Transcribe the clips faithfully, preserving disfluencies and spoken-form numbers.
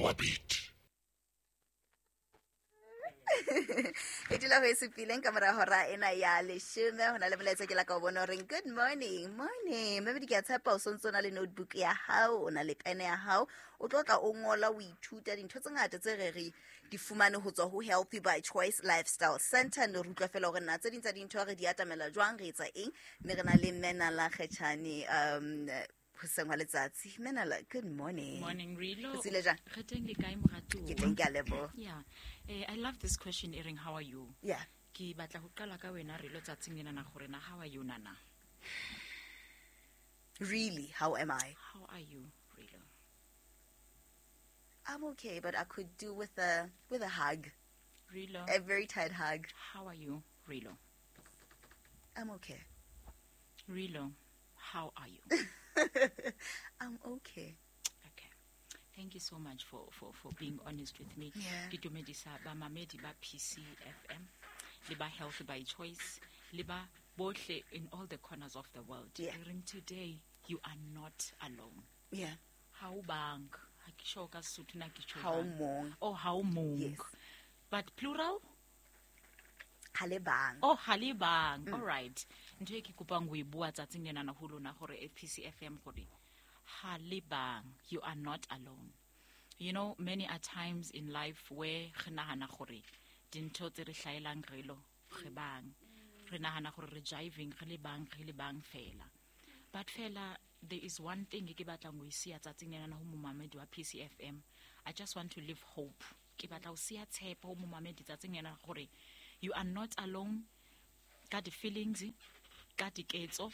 Our beat. E dula ho e supileng ka mora hora ena ya leshome ho na le molaetsa ke la ka o bona horeng good morning morning mme ke a tshepa o sontso na le notebook ya hao o na le pene ya hao o tlo tla o ngola o ithuta dintho tse ngata tse re re di fumane ho tswa ho Healthy by Choice Lifestyle Center. Ne re utlwa fela hore na tse ding tsa dintho re di atamela jwang, re etsa eng, mme re na le Menala Kgetjhane um hoseng hwa letsatsi. Menala, good morning. Morning, Rilo. O tsile jang? Re teng le kae, moratuwa? Ke teng, ke a leboha. Yeah. Eh, I love this question, Ering, how are you? Yeah. Ke batla ho qala ka wena Rilo tsatsing lena na gore na how are you nana? Really, how am I? How are you, Rilo? I'm okay, but I could do with a with a hug. Rilo. A very tight hug. How are you, Rilo? I'm okay. Rilo, how are you? I'm okay. Okay. Thank you so much for, for, for being honest with me. Yeah. Ke dumedisa ba mamedi ba P C F M, le ba Health by Choice, le ba bohle in all the corners of the world. Yeah. Re reng today, you are not alone. Yeah. Ha o bang. Ha ke sure ka Sesotho na ke tjho Ha o jwang. mong. Oh, ha o mong. Yes. But plural? Ha le bang. Oh, ha le bang. Mm. All right. Ntho e ke kopang ho e bua tsatsing lena na ho lona hore P C F M hore ha le bang, you are not alone. You know, many are times in life where re nahana hore dintho tse re hlaelang re lo, re bang. Re nahana hore re jiving, re le bang, re le bang fela. But fela, there is one thing ke batlang ho e siya tsatsing lena na ho momamedi wa P C F M. I just want to live hope. Ke batla ho siya tshepo ho momamedi tsatsing lena hore you are not alone ka di-feelings, ka diketso,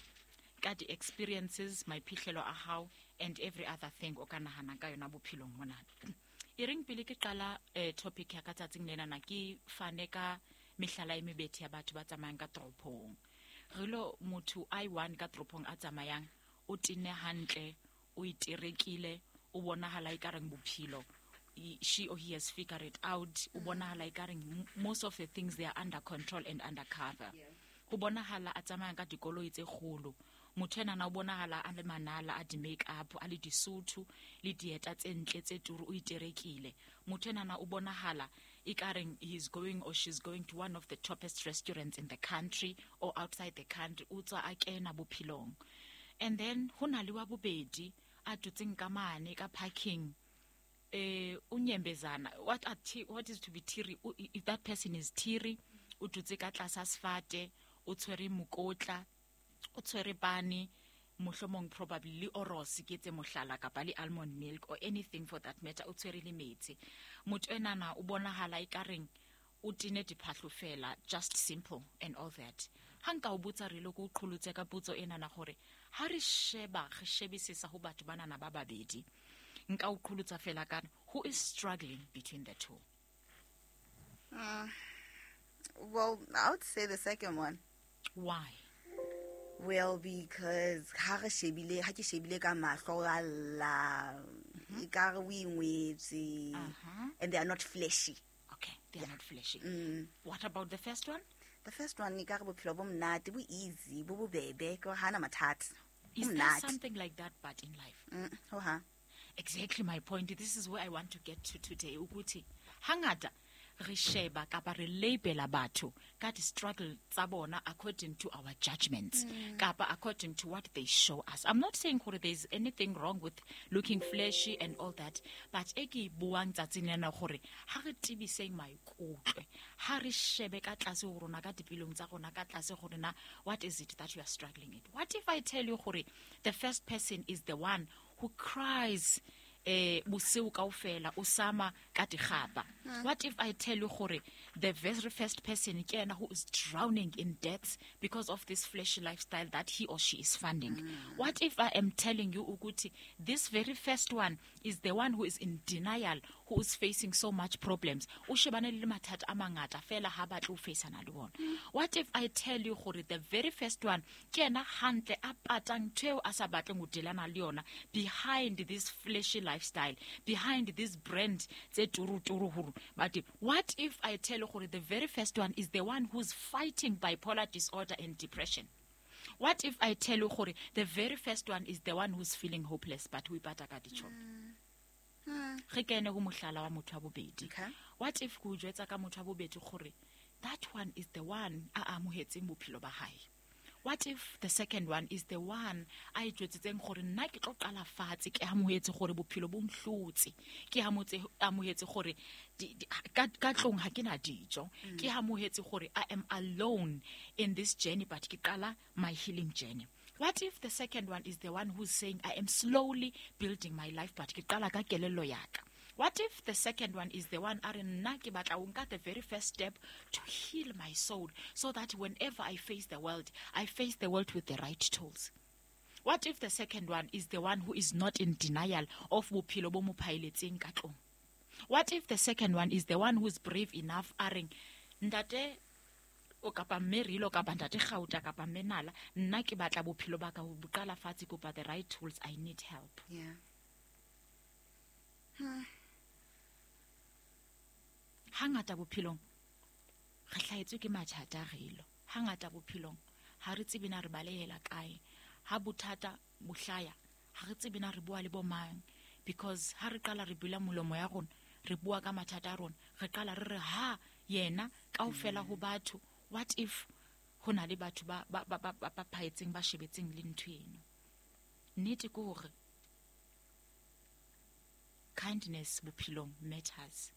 ka di-experiences, maiphihlelo a hao, and every other thing o ka nahana ka yona bophelong mona. E reng pele ke qala, eh, topic ya ka tsatsing lena na ke fane ka mehlala e mebedi ya batho ba tsamayang ka toropong. Re lo motho a i one ka toropong a tsamayang, o tenne hantle, o iterekile, o bonahala ekareng bophelo. He, she or he has figured it out. O bonahala ekareng m-, most of the things they are under control and under cover. Yeah. Ho bonahala a tsamayang ka dikoloi tse kgolo. Motho enana o bonahala a le manala, a di-make-up, a le disuthu, le dieta tse ntle tse turu, o iterekile. Motho enana o bonahala ekareng he is going or she's going to one of the toppest restaurants in the country or outside the country. O tswa a kena bophelong. And then ho na le wa bobedi a dutseng ka mane ka parking. Eh, unyembezana. What are ti-, what is to be teary? O, i-, if that person is teary, o dutse ka tlasa sefate, o tshwere mokotla, o tshwere pane, mohlomong probably le oros ke tse mohlala kapa le almond milk or anything for that matter, o tshwere le metsi. Motho enana o bonahala ekareng o tene diphahlo fela, just simple and all that. Ha nka o botsa re lo ko qholotse ka potso enana hore ha re sheba, re shebisisa ho batho banana ba babedi, nka o qholotsa fela ka who is struggling between the two? Mm. Well, I would say the second one. Why? Well, because ha re shebile, ha ke shebile ka mahlo a lla, Mm-hmm. ekare o ingwetse, Uh-huh. and they are not fleshy. Okay, they are Yeah. not fleshy. Mm. What about the first one? The first one, ekare bophelo bo monate, bo easy, bo bobebe, ke hore hana mathata. Bo Is there monate. something like that but in life? Mm, ho hang. Exactly my point. This is where I want to get to today. Ukuthi hangata re sheba kapa re labela batho ka di-struggle tsa bona according to our judgments, Mm. kapa according to what they show us. I'm not saying gore there's anything wrong with looking fleshy and all that, but e ke e buang tsatsing lena gore ha re tebiseng maikutlo, ha re shebe ka tlase ho rona, ka dipelong tsa rona, ka tlase gore na what is it that you are struggling with? What if I tell you gore the first person is the one who cries eh, bosiu kaofela, o sama ka dikgapa? Hmm. What if I tell you gore the very first person ke yena who is drowning in debts because of this fleshy lifestyle that he or she is funding? Hmm. What if I am telling you ukuthi this very first one is the one who is in denial, who is facing so much problems, o shebane le mathata a mangata fela ha batle ho faceana le bona? Hmm. What if I tell you gore the very first one ke yena hantle a patang ntho eo a sa batleng ho delana le yona behind this fleshy lifestyle, behind this brand tse turu turu huru? But what if I tell you gore the very first one is the one who's fighting bipolar disorder and depression? What if I tell you gore the very first one is the one who's feeling hopeless but we pata ka ditjhomi? Mm. Re kene ho mohlala wa motho wa bobedi. Okay. What if ke o jwetsa ka motho wa bobedi gore that one is the one a amohetseng bophelo ba hae? What if the second one is the one a itjwetsitseng gore nna ke tlo qala fatshe, ke amohetse gore bophelo bo nhlotse, ke amotse amohetse gore di- di- ka ka tlong ha ke na dijo, ke amohetse gore I am alone in this journey, but ke qala my healing journey. What if the second one is the one who's saying I am slowly building my life, but ke qala ka kelello ya ka? What if the second one is the one a re nna ke batla ho nka the very first step to heal my soul so that whenever I face the world, I face the world with the right tools? What if the second one is the one who is not in denial of bophelo bo mo phaeletseng ka tlong? What if the second one is the one who's brave enough a reng ntate o kapa mme Rilo kapa ntate Gauta kapa mme Nala, nna ke batla bophelo ba ka ho bo qala fatshe, kopa the right tools, I need help. Yeah. Hangata bophelong re hlahetswe ke mathata Rilo. Hangata bophelong ha re tsebe na re balehela kae. Ha bothata bo hlaya ha re tsebe na re bua le bo mang, because ha re qala re bula molomo ya rona re bua ka mathata a rona, re qala re re ha yena kaofela ho batho. What if ho na le batho ba ba ba ba ba phaetseng ba shebetseng le ntho eno? Nnete ke hore kindness bophelong matters.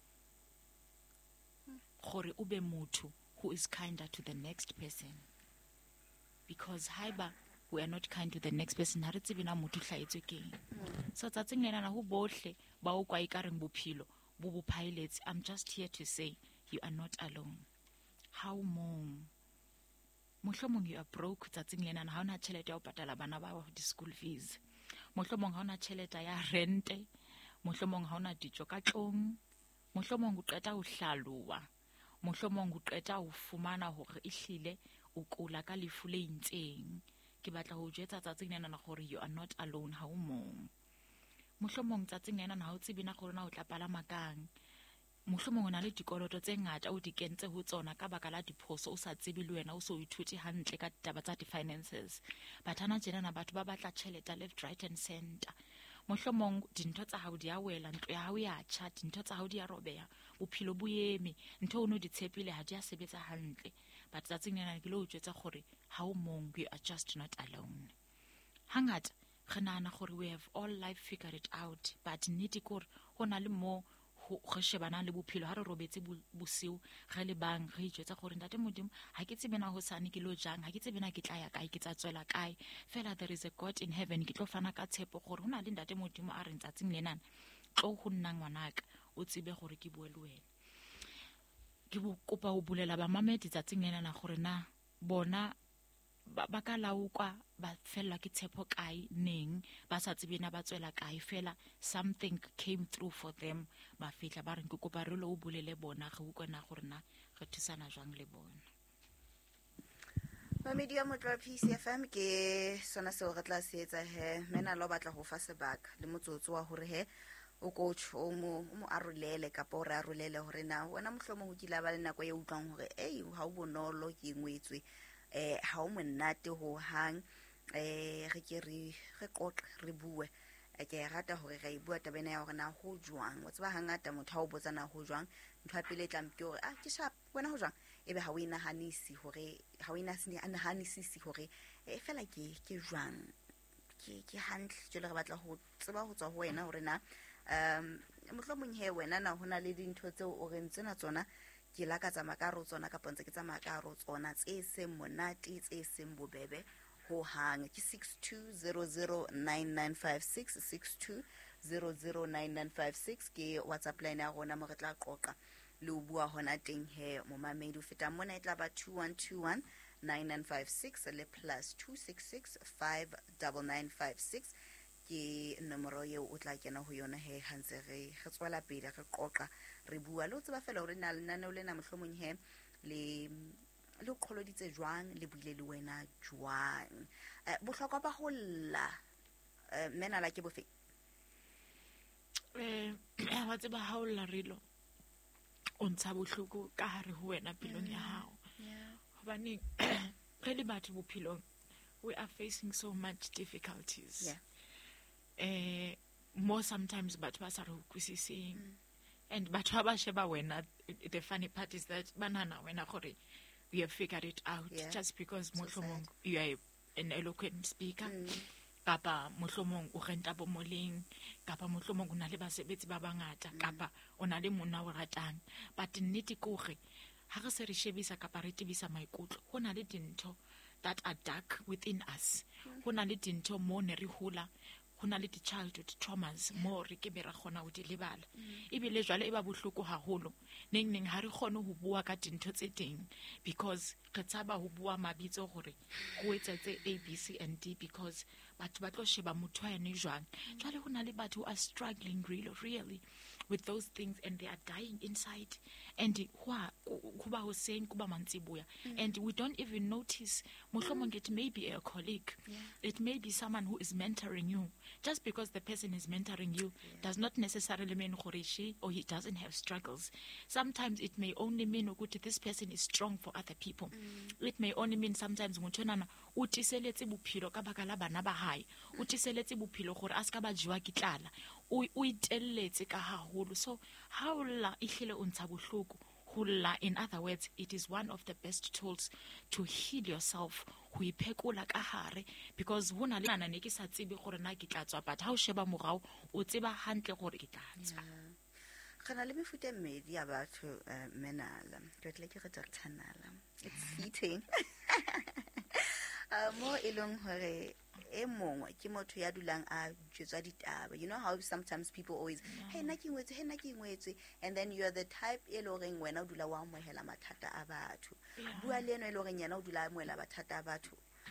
Gore o be motho who is kinder to the next person, because haeba we are not kind to the next person, ha re tsebe na motho o hlahetswe ke eng. So tsatsing lena ho bohle ba o kwa ekareng bophelo bo bo phaeletse, I'm just here to say you are not alone. Ha o mong. Mohlomong you are broke tsatsing lena, ha ona tjhelete ya ho patala bana ba di-school fees, mohlomong ha ona tjhelete ya rente, mohlomong ha ona dijo ka tlong, mohlomong o qeta ho hlalowa, mohlomong o qeta ho fumana hore ehlile o kula ka lefu le itseng. Ke batla ho jwetsa tsatsing lena gore you are not alone, ha o mong. Mohlomong tsatsing lena ha o tsebe na gore na o tla palama kang. Mohlomong o na le dikoloto tse ngata o di kentse ho tsona ka baka la diphoso, o sa tsebe le wena o so ithute hantle ka ditaba tsa di-finances. But hana tjena na batho ba batla tjhelete left, right and center. Mohlomong dintho tsa hao di a wela, ntlo ya hao ya tjha, dintho tsa hao di a robeha, bophelo bo eme, ntho o no di tshepile ha di a sebetsa hantle. But tsatsing lena ke lo o jwetsa gore ha o mong, you are just not alone. Hangata re nahana gore we have all life figured it out, but nnete ke hore ho na le mo re shebanang le bophelo ha re robetse bosiu re le bang re ijwetsa gore ntate Modimo ha ke tsebe na hosane ke lo jang, ha ke tsebe na ke tla ya kae, ke tla tswela kae, fela there is a God in heaven. Ke tlo fana ka tshepo gore hona le ntate Modimo a re ntsatsing lenana tlo ho nna ngwanaka o tsebe gore ke bue le wena. Ke bo kopa ho bulela ba mamedi tsatsing lenana gore na bona ba ka laokwa ba fellwa ke tshepo kae neng, ba sa tsebe na ba tswela kae, fela something came through for them, ba fihla ba re ke kopa re lo o bolele bona re utlwe na gore na re thusana jwang le bona. Mamedi ya Motlo wa P C F M ke sona seo re tla se etsa he mena lo batla ho fa sebaka le motsotso wa hore he o coach o mo o mo arolele kapa o re arolele hore na wena mohlomong o kile ba le nako e utlwang hore ei ha o bonolo ke ngwetswe, eh ha o monate ho hang, eh re ke re re qoqe re bue. Ke rata hore re bua taba ena ya hore na ho jwang. Wa tseba hangata motho ha o botsa na ho jwang, ntho ya pele e tlang ke hore ah ke sharp wena ho jwang, ebe ha o inahanisi hore ha o inahanisisi hore e fela ke ke jwang, ke ke hantle. Jwale re batla ho tseba ho tswa ho wena hore na um mohlomong he wena na hona le dintho tseo o reng tsena tsona ke la ka tsamaya ka ro tsona kapa ntse ke tsamaya ka ro tsona tse seng monate tse seng bobebe ho hang. Ke six two zero zero nine nine five six, six two zero zero nine nine five six ke WhatsApp line ya rona mo re tla qoqa le o bua hona teng he momamedi. O feta mona e tla ba two one two one nine nine five six le plus two six six five nine nine five six ke nomoro eo o tla kena ho yona he ha ntse re re tswela pele re qoqa re bua le o tseba fela hore na lenaneo lena mohlomong he le le qholoditse jwang, le buile le wena jwang. Eh bohlokwa ba ho lla mena la ke bofe? Eh wa tseba ha o lla Rilo o ntsha bohloko ka hare ho wena pelong ya hao. Hobane re le batho bophelong we are facing so much difficulties. Yeah. Eh Mo sometimes batho ba sa re utlwisiseng. And batho ba ba sheba wena, the funny part is that ba nahana wena gore you have figured it out Yeah. just because So mohlomong sad. you are an eloquent speaker. Kapa mohlomong o renta bo moleng, kapa mohlomong o na le basebetsi ba bangata, kapa o na le monna o ratang. But nnete ke hore ha re se re shebisa kapa re tebisa maikutlo, ho na le dintho that are dark within us. Ho na le dintho mo ne re hola, ho na le di-childhood traumas mo re ke be ra kgona ho di lebala. Ebile jwale e ba bohloko haholo. Neng neng ha re kgone ho bua ka dintho tse teng because re tshaba ho bua mabitso hore ho etsahetse A, B, C and D because batho ba tlo sheba motho wa yane jwang. Jwale ho na le batho who are struggling really, really with those things and they are dying inside. And ho a- ho ba hoseng, ho ba mantsiboya. And we don't even notice. Mohlomong it may be a colleague. Yeah. It may be someone who is mentoring you. Just because the person is mentoring you does not necessarily mean gore she or he doesn't have struggles. Sometimes it may only mean ukuthi this person is strong for other people. It may only mean sometimes motho enana o tiiseletse bophelo ka baka la bana ba hae. O tiiseletse bophelo gore a ska ba jewa ke tlala. O o itelletse ka haholo. So ha o lla ehlile o ntsha bohloko. Ho lla, in other words, it is one of the best tools to heal yourself, ho iphekola ka hare, because ho na le nana ne ke sa tsebe gore na ke tla tswa, but ha o sheba morao o tseba hantle gore ke tla tswa. Re na le mefuta e mmedi ya batho, eh, mme Nala. Ke batlile ke re Doctor Nala. It's fitting. Uh, mo e leng hore e mongwe ke motho ya dulang a jwetswa ditaba. You know how sometimes people always, hey, nna ke ngwetswe, hey, nna ke ngwetswe. And then you are the type e leng horeng wena o dula o amohela mathata a batho. Yeah. Bua le eno e leng horeng yena o dula a amohela mathata a batho.